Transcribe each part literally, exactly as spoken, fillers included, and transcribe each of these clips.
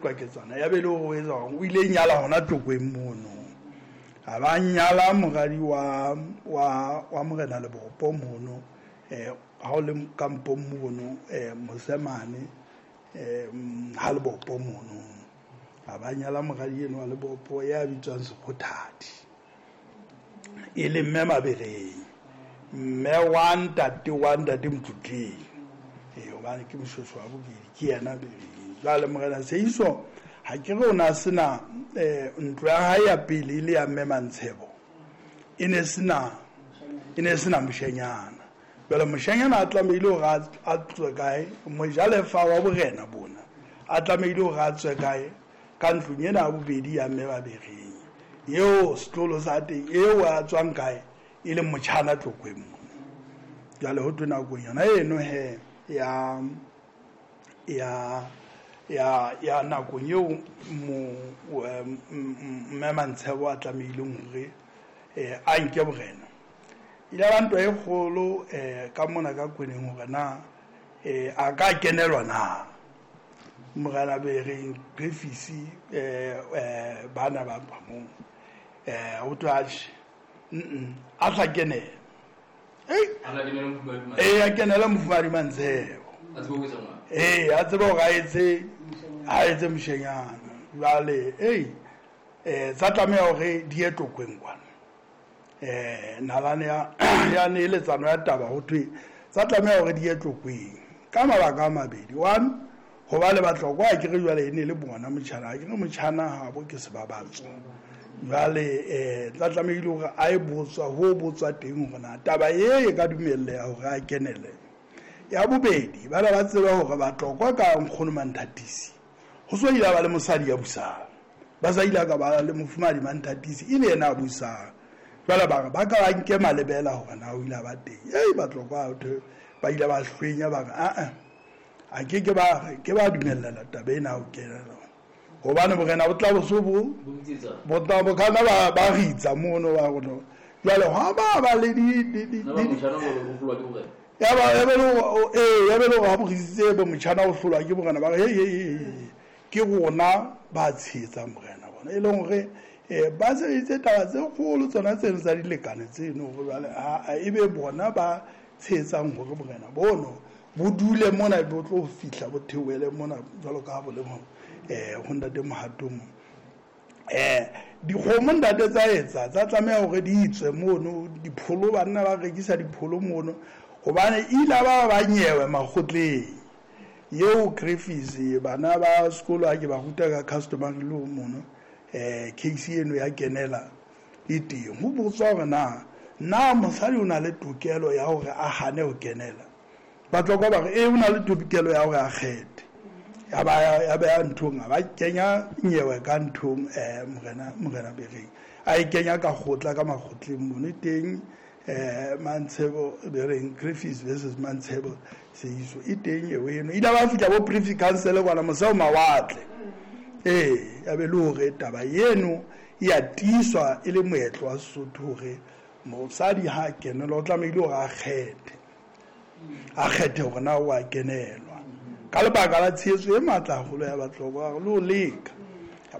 Qwaketsana ya be le hore o etsa hore o ile nyala hona Tlokweng mono. A ba nyala moradi wa wa wa morena Lebopo mono, eh ha o le kampong mono, eh Mosemane, eh ha Lebopo mono. A ba nyala moradi eno wa Lebopo ya bitswang Sekgothadi. E le mme Mabereng. Mme wa ntate wa ntate Motlotleng. Eh hobane ke moshweshwe wa bobedi ke yena Bereng. Jwale morena Seiso ha ke re o na sena eh ntlo ya hae ya pele e le ya mme Mantshebo. E ne sena e ne sena moshanyana. Jwale moshanyana a tlamehile hore a tswe kae? Mojalefa wa borena bona a tlamehile hore a tswe kae? Ka ntlong ena ya bobedi ya mme Mabereng. Eo setlolo sa teng eo a tswang kae? E le motjhana Tlokweng mono. Jwale ho thwe nakong yona eno he ya ya ya ya nakong eo mo mme Mantshebo a tlamehileng hore eh a nke borena. Ile ba ntwa e kgolo eh ka mona ka Kweneng hore na eh a ka kenelwa na morena Bereng Griffiths eh eh bana ba ba mo eh ho thwe mm a sa kenela. Eh eh a kenela mofumahadi Mantshebo. A tsebe ho etsa ngwana. Eh a tsebe hore a etse a etse moshenyana. Jwale eh eh tsa tlameha hore di ye Tlokweng kwana. Eh nalane ya ya neeletsano ya taba ho thwe tsa tlameha hore di ye Tlokweng ka mabaka a mabedi. One, hoba le Batlokwa a ke re jwale e ne le bona motjhana, a ke re motjhana habo ke sebabatso. Jwale eh tla tlamehile hore a e botswa ho botswa teng hore na taba e e ka dumelleha hore a kenele. Ya bobedi, bana ba tseba hore Batlokwa ka nkgono Manthatisi ho so ile ba le mosadi ya busang. Ba sa ile ka ba le mofumahadi Manthatisi e le yena a busang. Jwale ba re ba ka ba nke malebela hore na o ile ba teng. Ei Batlokwa ba ile ba hlwenya ba re a a a ke ke ba ke ba dumella taba ena ho kenela. Hobane borena bo tla bo so bo bo tla bo kana ba ba ritsa mono ba rona. Jwale ha ba ba le di di di ya ba ya be le eh ya be le ha bo ritse bo motjhana o hlolwa ke borena ba re hey hey ke rona ba tshehetsang borena bona e leng hore eh ba sebeditse taba tse kgolo tsona tseno tsa dilekane tseno hore jwale a e be bona ba tshehetsang hore borena bono bo dule mona bo tlo fihla bo theohele mona jwalo ka ha bo le mo eh ho ntate Mohatong. Eh dikgomo ntate tsa etsa tsa tlameha hore di itswe mono dipholo banna ba rekisa dipholo mono hobane ile ba ba nyewe makgotleng. Eo Griffiths bana ba sekolo ha ke ba ruta ka customary law mono eh case eno ya kenela e teng. Ho botswa hore na na mosadi o na le tokelo ya hore a hane ho kenela. Batlokwa ba re e o na le tokelo ya hore a kgethe. Ya ba ya ba ya nthong ba kenya nyewe ka nthong eh morena morena Bereng a e kenya ka kgotla ka makgotleng mono teng eh Mantshebo Bereng Griffiths versus Mantshebo Seiso e teng eo eno ile ba fihla bo Privy Council kwana moseo mawatle. Eh ya be le hore taba eno ya tiiswa e le moetlo wa Sesotho hore mosadi ha kenelwa o tlamehile hore a kgethe a kgethe hore na o a kenelwa ka lebaka la tshehetso e matla haholo ya Batlokwa le ho leka.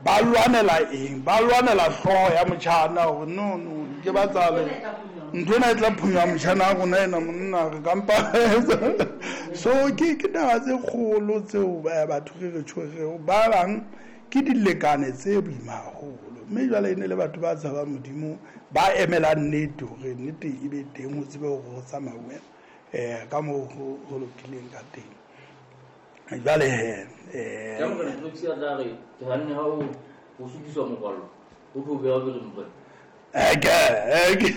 Ba lwanela eng? Ba lwanela hlooho ya motjhana hore no no ke ba tsale ntho ena e tla phunya motjhana wa rona ena monna re kampa. So ke ke taba tse kgolo tseo batho re re tshwerego ba bang ke dilekane tse boima haholo. Mme jwale e ne le batho ba tshabang Modimo ba emelang nnete hore nnete e be teng ho tsebe hore ho tsamauwe eh ka moo ho lokileng ka teng. Jwale he eh ka morena Griffiths a tla re ke hanne ha o ho sutiswa mokwallo o tlo beha pele morena. Eke eke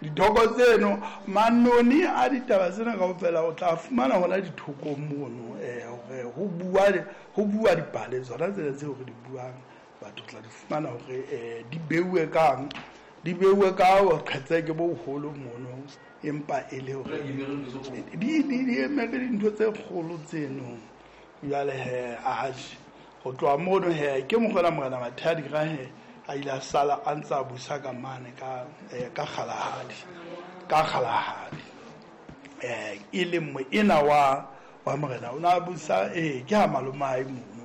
dithoko tseno manoni a ditaba tsena kaofela o tla fumana hona dithokong mono eh hore ho bua ho bua dipale tsona tsena tseo re di buang batho tla di fumana hore eh di beuwe kang di beuwe ka boqhetseke bo boholo mono empa e le hore di di di emere dintho tse kgolo tseno. Jwale he a ho tloha mono he ke mokgona morena Mathadi ra he a ile a sala a ntsa busa ka mane ka ka Kgalahadi ka Kgalahadi eh e le moena wa wa morena o na busa eh ke ha malomae mono.